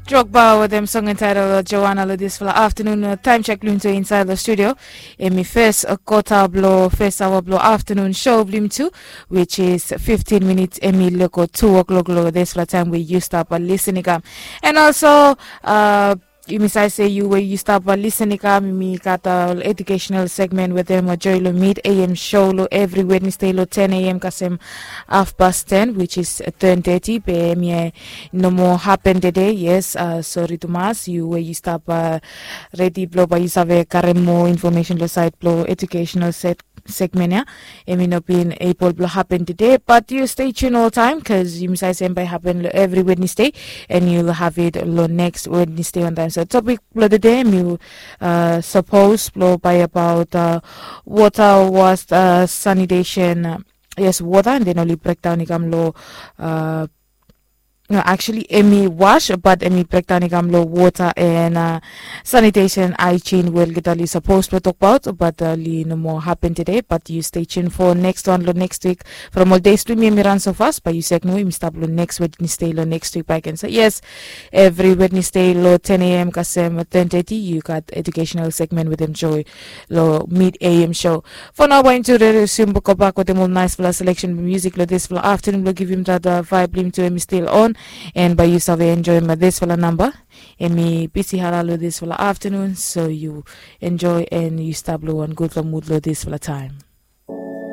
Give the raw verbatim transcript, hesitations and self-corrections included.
Drogba wetem song entitled Joanna lo disfala afternoon. Taem chek blong yumi tu insaed lo studio, emi fes kota blo fes aoa blo afternoon show blong yumi tu, which is fifteen minutes emi lego tu o'clock lo disfala taem we yu stap lisin i kam. And also, yumi save se yu we yu stap lisin i kam, yumi gat ol educational segment wetem joy lo mid am show lo evri Wednesday lo ten am kasem half past ten, which is ten thirty. Be emi no moa hapen tede. Yes, sori tumas, yu we yu stap redi blo bae yu save karem moa infomesen lo saed blo educational segment ya, emi no bin ebol blo hapen tede, bat yu stay tune oltaem bikos yumi save se em bae hapen lo evri Wednesday, and yu have it lo next Wednesday wantaem. So topik blo tede emi sapos blo bae abaot wota was, sanitation, yes, wota, and then oli brekdaon i kam lo, no, actually emi was, bat emi brekdaon i kam lo wota and sanitation, haejen we olgeta oli sapos blo tokbaot, bat oli no moa hapen tede. Bat yu stay tune fo next wan lo next wik. From ol deis blo yumi emi ran so fas, bae yu sek no yumi stap lo next Wednesday lo next wik bae ken. So yes, evri Wednesday lo ten am kasem ten thirty yu gat educational segment wetem joy lo mid am show. Fo nao bae yumi tu redi, yumi gobak wetem ol naesfala seleksen blo musik lo disfala afternoon blo givim dat vaeb blo yumi tu emi stil on. And bae yu save enjoem disfala namba, emi bisi hala lo disfala afternoon, so yu enjoy and yu stap lo wan gudfala mud lo disfala taem.